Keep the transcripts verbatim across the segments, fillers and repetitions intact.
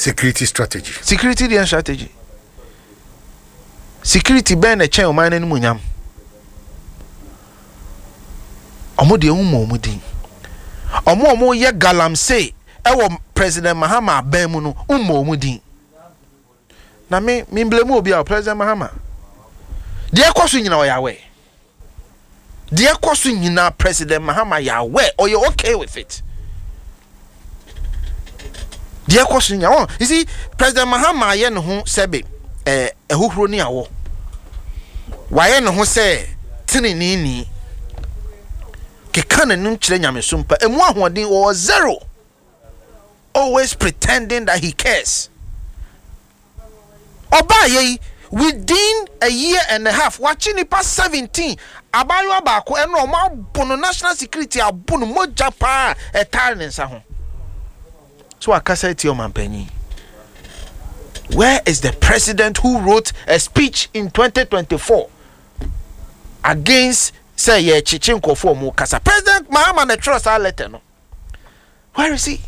Security strategy. Security deɛ, strategy security bɛn na ɛkyɛn ɔman no anim nyam? Ɔmo deɛ, ɛho ɔmo din, ɔmo a ɔmo yɛ galamsey ɛwɔ President Mahama aban mu no, mmɔ ɔmo din. Na me me blame obi a President Mahama deɛ ɛkɔ so nyinaa, ɔyɛ aware. Deɛ ɛkɔ so nyinaa, President Mahama yɛ aware, ɔyɛ okay with it. Deɛ ɛkɔ so nyinaa wɔn, you see, President Mahama ayɛ ne ho sɛbe ɛɛ ɛhohoro ne awɔ, wayɛ ne ho sɛ tenenini keka n'anim kyerɛ Nyamesom pa, emu ahoɔden wɔwɔ zero, always pretending that he cares. Ɔbaa yɛ yi, within a year and a half, wakye nipa seventeen. Abaayewa baako ɛna ɔmo abo no, national security abo no, mogya paa ɛtaare ne nsa ho so akasa etia ɔmanpanyin. Where is the president who wrote a speech in twenty twenty-four against sɛ yɛkyekye nkɔfoɔ ɔmo kasa? President Mahama na ɛtwerɛ saa letter no. Where is he?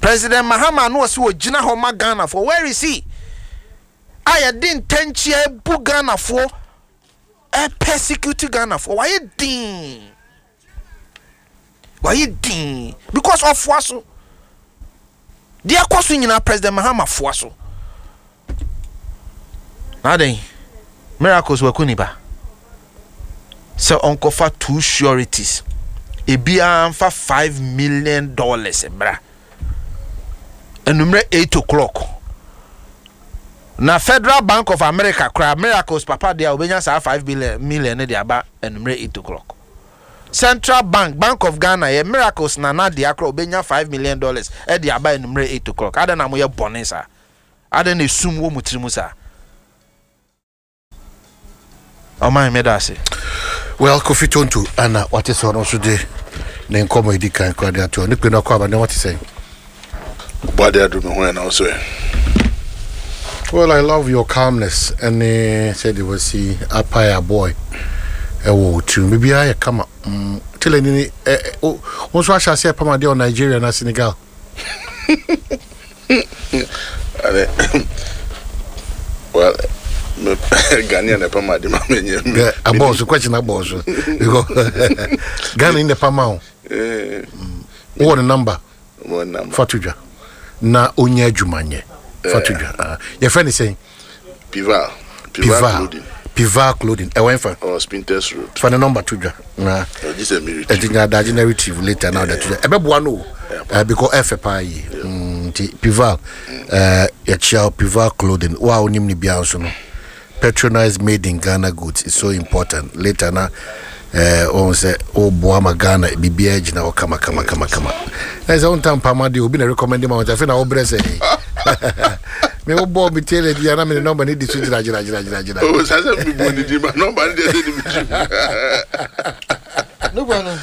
President Mahama no ɔsɛ ogyina hɔ ma Ghanafoɔ. Where is he? A yɛde ntɛnkyea ebu Ghanafoɔ, ɛpersecute Ghanafoɔ, wayɛ din, wayɛ din because ɔfoa so. Deɛ ɛkɔ so nyinaa, President Mahama foa so. Na adan Miracles waku nipa sɛ ɔnkɔfa two sureties, ebiara nfa five million dollars mmra enumere eight o'clock na Federal Bank of America kora. Miracles papa deɛ a obenya saa five billion million ne de aba enumere eight o'clock. Central Bank, Bank of Ghana, yɛ Miracles nana deɛ akora, obenya five million dollars ɛde aba enumere eight o'clock. Adan na mo yɛ bɔnne saa? Adan na esum wɔ mo tiri mu saa? Ɔman mi da ase. Well, Kofi Tonto ana wate sɛ ɔno nso de ne nkɔmmɔ edi kan kora de ato ne kpe no akɔ aba ne wate sɛn. Bade adu me ho ɛ na wo so ɛ? Well, I love your calmness ɛne sɛdeɛ wasi apae aboy ɛwɔ wo tirim. Biribiara yɛ kama. mm, tele ni ni ɛ ɛ wo wo nso ahyɛ aseɛ pam adeɛ wɔ Nigeria na Senegal. Ade well, me Ghanaian na pam ade ma me nye. Ɛ, abɔɔ so question, abɔɔ so because Ghana ni na pam a wo Eh, wowɔ ne number? Mo number. Fa to dwa na onya adwuma nyɛ. Fa to dwa. Ah, yɛfrɛ ne sɛn? Pival. Pival. Pival. Clothing. Pival Clothing, ɛwɔ ɛnfa? Or Spintex Road. Fa ne number to dwa na Ɔgye sɛ me ɛnti retrieve. nya adagye na retrieve later na ɔde to dwa, ɛbɛboa no o. Eh, because ɛfɛ paa yie. Mm, nti Pival, eh, yɛkyia wo, Pival Clothing. Wo a wonim ne biara nso no, patronize made in Ghana goods is so important. Later na eh, wɔn sɛ woboa ma Ghana biribiara gyina hɔ kama kama kama kama. Ɛsɛ sɛ wonta mpama deɛ obi na recommend ma wo, nti afei na wobrɛ sɛ me wobɔɔ me tailor di a na mene number ne di so gyina gyina gyina gyina gyina. Oh, sasa mi bu ni di ma number ni de sɛ ni mi ti. Nukwa no.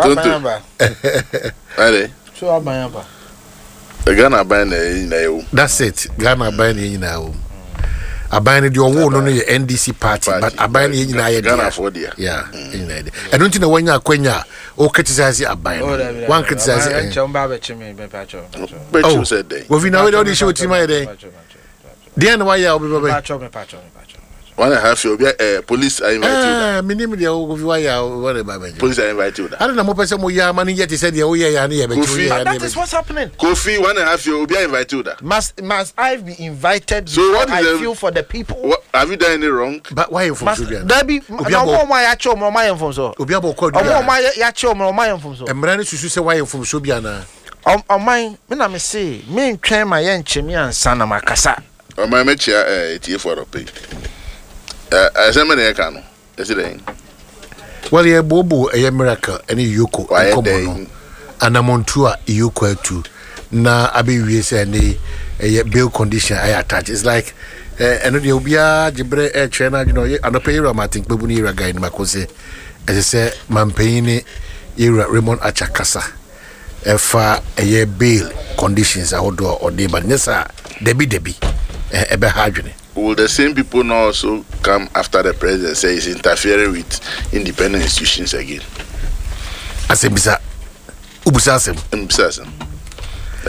Tonto. Waban aba. Ade. So waban aba. Ghana aban na ɛyɛ nyinaa yɛ wo. That's it. Ghana aban ne yɛ nyinaa wɔ mu. Aban no deɛ, ɔwoo no no yɛ N D C party, but aban no yɛ nyinaa yɛ dea. Ghanafoɔ dea. Yeah, yɛ nyinaa yɛ dea. Ɛno nti na wanya akwanya a o criticize aban Oh, no dabi, dabi. wan criticize Aban, ɛ nkyɛn ba abɛkye me, mepakyɛw, mepakyɛw. Bɛkyiw sɛ dɛn? Wofi na wei de ɔde hyɛ otirim ayɛ dɛn? Mepakyɛw, mepakyɛw. Deɛ na wayɛ a wobɛba bɛ Mepakyɛw, mepakyɛw, mepakyɛw. One and a half year obi ɛ police are invite you da. ɛɛ menim deɛ wofi wayɛ a wɔde ba bɛgye. Police are invite you da. Ade na mopɛ sɛ moyɛ ama no yɛ te sɛ deɛ woyɛ yɛ a ne yɛ bɛkye. Kofi. Woyɛ a ne That yɛ is bɛkye. what's happening. Kofi, one and a half year obi are invite you da. Must must I be invited So before what is I the- feel for the people? What, have you done any wrong? Ba wayɛ Must mfomso bia dabi Obi na abɔ- ɔmo ɔmo a yɛakyɛ ɔmo, ɔmo ayɛ mfomso. Obi abɔ kɔ Ɔmo adua. ɔmo a yɛakyɛ ɔmo, ɔmo ayɛ mfomso. Mmara no susu sɛ wayɛ mfomso bi anaa? Ɔm- Ɔman me na me se me ntwɛn ma yɛ nkyɛn mi ansa na ma kasa. Ɔman, mɛkyia ɛ etiefoɔ dɔpɛ yi. Ɛ ɛsɛm na yɛka no ɛsi dɛn? Well, yɛbooboo ɛyɛ Miracle ɛne Yoko Wayɛ nkɔmmɔ dɛn? no, anamontu a Yoko atu na abɛwie sɛ ɛne ɛyɛ bail condition ayɛ attach. It's like eh, ɛno deɛ obiara gye berɛ ɛkyerɛ no adwene. Ɔyɛ anɔpɛ yɛwura Martin Kpebu ne yɛwura Guy Nimako sɛ ɛsɛ sɛ mampanyin ne yɛwura Raymond Archer kasa ɛfa ɛyɛ bail conditions ahodoɔ a ɔde ba no. Nyɛ saa, dabi dabi, ɛ- ɛbɛha adwene. Will the same people not also come after the president, say he's interfering with independent institutions again? Asɛm bisa, wobusa asɛm. Mbisa asɛm.